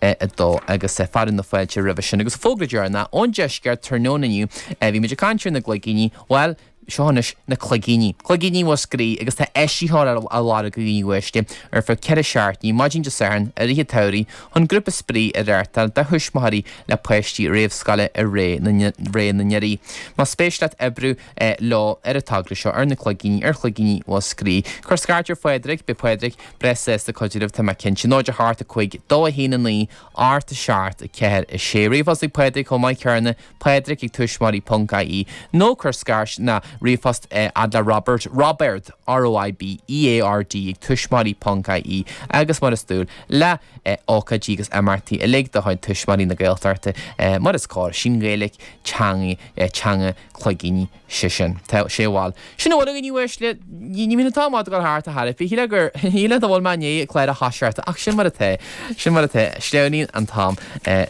2 agus fearadh na fáilte roimhe sin. Agus fógra deireanach ón deisceart tráthnóna inniu, bhí muid ag caint ar na gcloigíní, bhuel, Seo anois na cloigíní. Cloigíní Mhúscraí agus tá eisitheoir á lorg a dhaoine uaisle ar feadh 4 seachtainí, maidin Dé Sathairn i rith an tsamhraidh, chun grúpa spraoi a reáchtáil do thuismitheoirí le páistí réamhscoile i ré na nDoirí. Más spéis leat oibriú leo ar an togra seo, ar na cloigíní, ar Chloigíní Mhúscraí, cuir scairt ar Phádraig, beidh Pádraig breá sásta cuidiú libh, tá mé cinnte. 0 8 5 2 1 9 8 7 4 6. Ríomhphost ag Pádraig chomh maith céanna. Pádraig ag tuismitheoirí ponc ie nó cuir scairt ná ríomhphost fhad le Robert, Roibeard, R-O-I-B-E-A-R-D ag tuismitheoirí ponc ie agus mar is dual le ócáidí agus imeachtaí uilig de chuid Tuismitheoirí na Gaeltachta mar is cóir, sí'n Ghaeilge teanga teanga cloigíní. Sé sin. Tá sé bhal. Sin a bhfuil againn uaisle. Ní bhíonn an t-am ag dul thart a thairbhe. Shílfeá gur, shílfeá go bhfuil mé i ndiaidh clár a thoiseacht ach sin mar atá. Sin mar atá. Sleamhnaíonn an t-am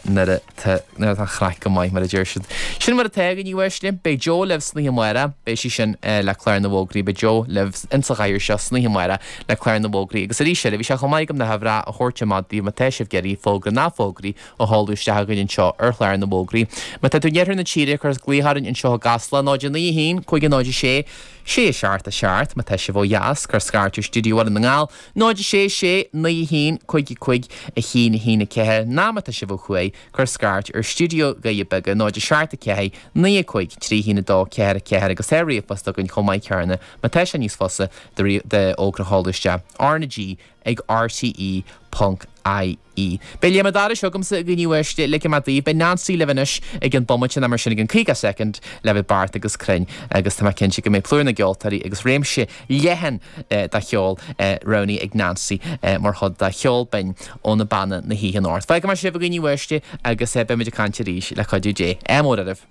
nuair atá, nuair atá an chraic go maith, mar a deir siad. Sin mar atá againn uaisle. Beidh Joe libh san oíche amárach. Beidh sí sin le clár na bhfógraí. Beidh Joe libh insa chathaoir seo san oíche amárach le clár na bhfógraí. Agus arís eile, bhí sé chomh maith agam na huimhreacha a thabhairt amach daoibh má tá sibh ag iarraidh fógra ná fógraí a sheoladh isteach chugainn anseo ar chlár na bhfógraí. Má tá tú in iarthar na tíre, cuir glaoch orainn anseo i gCasla, 0 9 1 5 0 6 6 7 7. Má tá sibh ó dheas, cuir scairt ar Stiúideo Bhaile na nGall, 0 6 6 9 1 5 5 1 1 4. Ná má tá sibh ó thuaidh, cuir scairt ar Stiúideo Dhoirí Beaga, 0 7 4 9 5 3 1 2 4 4 agus tá ríomhphost againn chomh maith céanna má tá sé níos fusa d'fhógra a sheoladh isteach. R na G ag rte ponc ie. Beidh Léim an Dorais agamsa a dhaoine uaisle, ligfidh mé daoibh. Beidh Nancy libh anois i gcionn bomaite nó mar sin i gcionn 50 soicind le bheith beart agus cruinn agus tá mé cinnte go mbeidh plúr na gceoltóirí agus réimse leathan de cheol roghnaithe ag Nancy mar chuid de cheol binn ó na banna na hoíche anocht. Fágfaidh mé sibh a dhaoine uaisle agus beidh muid ag caint arís le cuidiú Dé. Ádh mór oraibh.